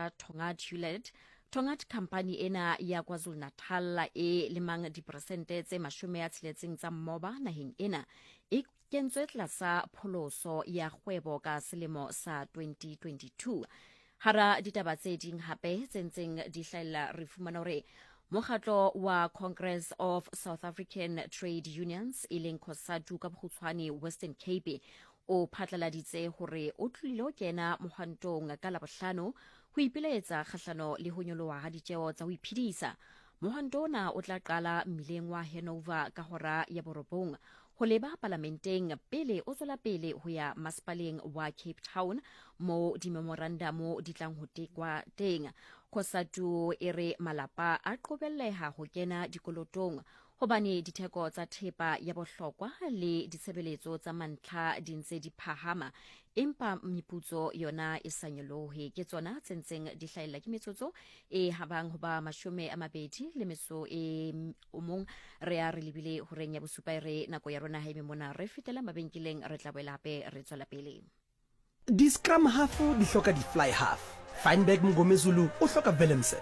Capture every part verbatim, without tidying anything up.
sa Tongaat Hulett. Tongaat company ena ya KwaZulu-Natal e lemang diperesente tse mashome a tsheletseng tsa mmoba naheng ena e kentswe tlasa pholoso ya kgwebo ka selemo sa twenty twenty-two. Hara ditaba tse ding hape tse ntseng di hlahella re fumana hore mokgatlo wa Congress of South African Trade Unions e leng COSATU ka bokgutshwane Western Cape o phatlaladitse hore o tlile ho kena mohwantong ka Labohlano ho ipilaetsa kgahlano le ho nyoloha ha ditjeo tsa ho iphedisa. Mohwanto ona o tla qala mmileng wa Hanover ka hora ya borobong ho leba palamenteng pele o tswela pele ho ya masepaleng wa Cape Town mo dimemorandamo di tlang ho tekwa teng. COSATU e re malapa a qobelleha ho kena dikolotong hobane ditheko tsa thepa ya bohlokwa le ditshebeletso tsa mantlha di ntse di phahama empa meputso yona e sa nyolohe. Ke tsona tse ntseng di hlahella ke metsotso e habang ho ba mashome a mabedi le metso e o mong. Re a re lebile horeng ya bosupa e re nako ya rona ha eme mona, re fetela mabenkeleng, re tla boela hape re tswela pele. Di-scrum half di hloka di-fly half. Feinberg Mngomezulu o hloka Willemse.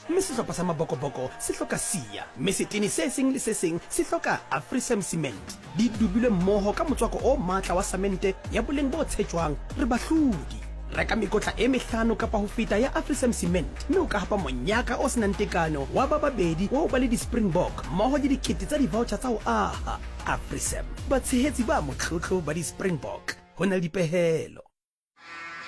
Mme sehlopha sa Mabokoboko se hloka Sia. Mme setene se seng le se seng se hloka Afrisam Cement. Di dubilwe mmoho ka motswako o matla wa samente ya boleng bo tshetjwang, re bahlodi. Reka mekotla e mehlano kapa ho feta ya Afrisam Cement mme o ka hapa monyaka o senang tekano wa ba babedi wa ho ba le di-Springbok mmoho le dikete tsa di-voucher tsa ho aha. Afrisam, batshehetsi ba motlotlo ba di-Springbok. Ho na le dipehelo.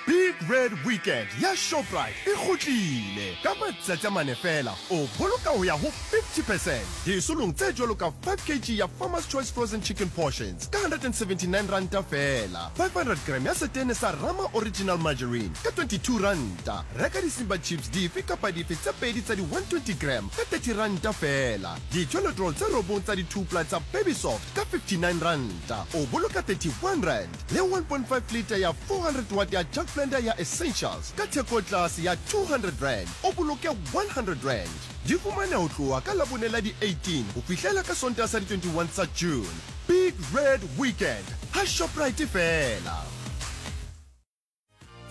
Big Red Weekend ya Shoprite e kgutlile. Ka matsatsi a mane fela o boloka ho ya ho fifty percent disolong tse jwalo ka five kg ya Farmer's Choice Frozen Chicken Portions ka hundred and seventy-nine ranta fela, five hundred gram ya setene sa Rama Original Margarine ka twenty-two ranta, reka di-Simba Chips dife kapa dife tse pedi tsa di one twenty gram ka thirty ranta fela, di-toilet roll tse robong tsa di-two ply tsa Baby Soft ka fifty-nine ranta, o boloka thirty-one rand, le one point five liter ya four hundred watt ya Jug Blender ya Essentials ka theko tlase ya two hundred rand, o boloke one hundred rand. Di fumane ho tloha ka Labone la di eighteen ho fihlela ka Sontaha sa di twenty-one tsa June. Big Red Weekend ha Shoprite fela.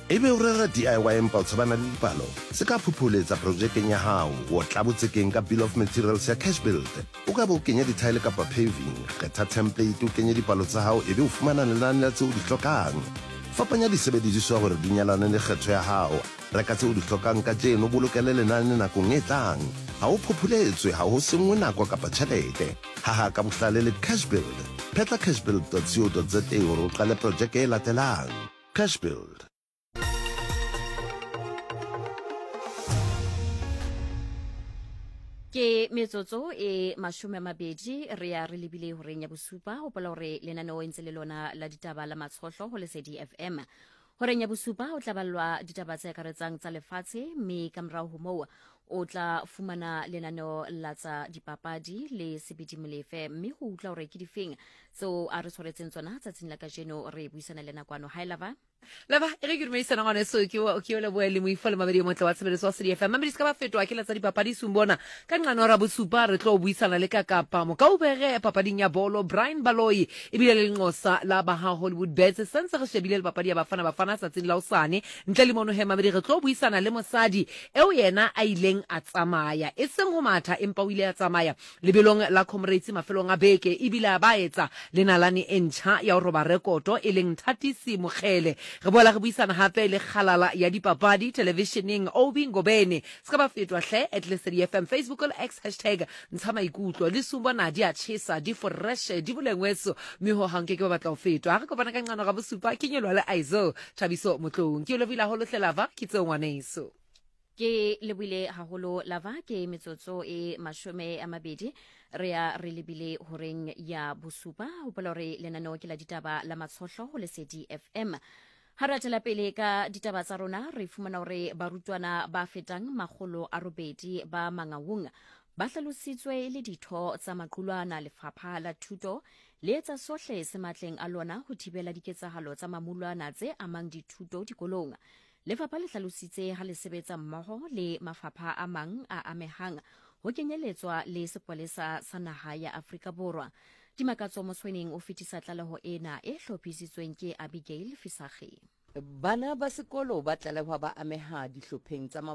Ebe o rera D I Y empa o tshabana le dipalo, se ka phuphuletsa projekeng ya hao, o tla botsekeng ka Bill of Materials ya Cash Build. O ka be o kenya dithaele kapa paving, kgetha template o kenye dipalo tsa hao ebe o fumana lenane la tseo o di hlokang. Fapanya disebediswa hore di nyalane le kgetho ya hao. Reka tseo o di hlokang kajeno, bolokele lenane nakong e tlang. Ha o phuphuletswe, ha ho senngwe nako kapa tjhelete. Haha ka bohlale le Cash Build. Phetla cashbuild dot co dot za hore o qale projeke e latelang. Cash Build. Ke metsotso e mashome a mabedi re ya re lebile horeng ya bosupa. Hopola hore lenaneo e ntse le lona la ditaba la Matshohlo ho Lesedi F M. Horeng ya bosupa o tla ballwa ditaba tse akaretsang tsa lefatshe, mme ka morao ho moo o tla fumana lenaneo la tsa dipapadi le Sebidi Molefe, mme ho utlwa hore ke difeng tseo a re tshwaretseng tsona tsatsing la kajeno. Re buisana le nakwano. Hi Lava. Lava, e re ke dumedisana ngwaneso, ke o, ke o lebohe le moifo le mabedi motle wa tshebeletso wa Lesedi F M. Mamedi se ka ba fetoha ke la tsa dipapadi sumbona. Ka nqano ra bosupa re tlo buisana le ka Kapa Mokaubere papading ya bolo Brian Baloyi ebile le lenqosa la ba ha Hollywood Bets. Santse re shebile le papadi ya Bafana Bafana tsatsing la hosane. Ntle le mono he mamedi re tlo buisana le mosadi eo yena a ileng a tsamaya, e seng ho matha empa o ile a tsamaya lebelong la Comrades mafelong a beke, ebile a ba etsa le nalane e ntjha ya ho roba rekoto e leng Thatisi Mokgele. Re boela re buisana hape le kgalala ya dipapadi televisioneng Obi Ngobeni. Se ka ba fetwa hle at Lesedi F M Facebook le X hashtag ntsha maikutlo. Le sumbona di a tjhesa, di fresh, di bolengweso, mme ho hang ke ke ba batla ho fetwa. Ha re kopana ka nqano ga bosupa, ke nyelwa le Aizo Thabiso Motloung. Ke o lebohile haholo hle Lava, ke tseo ngwaneso. Ke lebohile haholo Lava. Ke metsotso e mashome a mabedi re ya re lebile horeng ya bosupa. Hopola hore lenaneo ke la ditaba la Matshohlo ho Lesedi F M. Ha re atela pele ka ditaba tsa rona, re fumana hore barutwana ba fetang makgolo a robedi ba Mangaung ba hlalositswe e le ditho tsa maqulwana. Lefapha la Thuto le etsa sohle se matleng a lona ho thibela diketsahalo tsa mamulwana tse amang dithuto dikolong. Lefapha le hlalositse ha le sebetsa mmoho le mafapha a mang a amehang ho kenyeletswa le sepolesa sa naha ya Afrika Borwa. Dimakatso Mosweneng o fetisa tlaleho ena e hlophisitsweng ke Abigail Fisage. Bana ba sekolo ba tlalehwa ba ameha dihlopheng tsa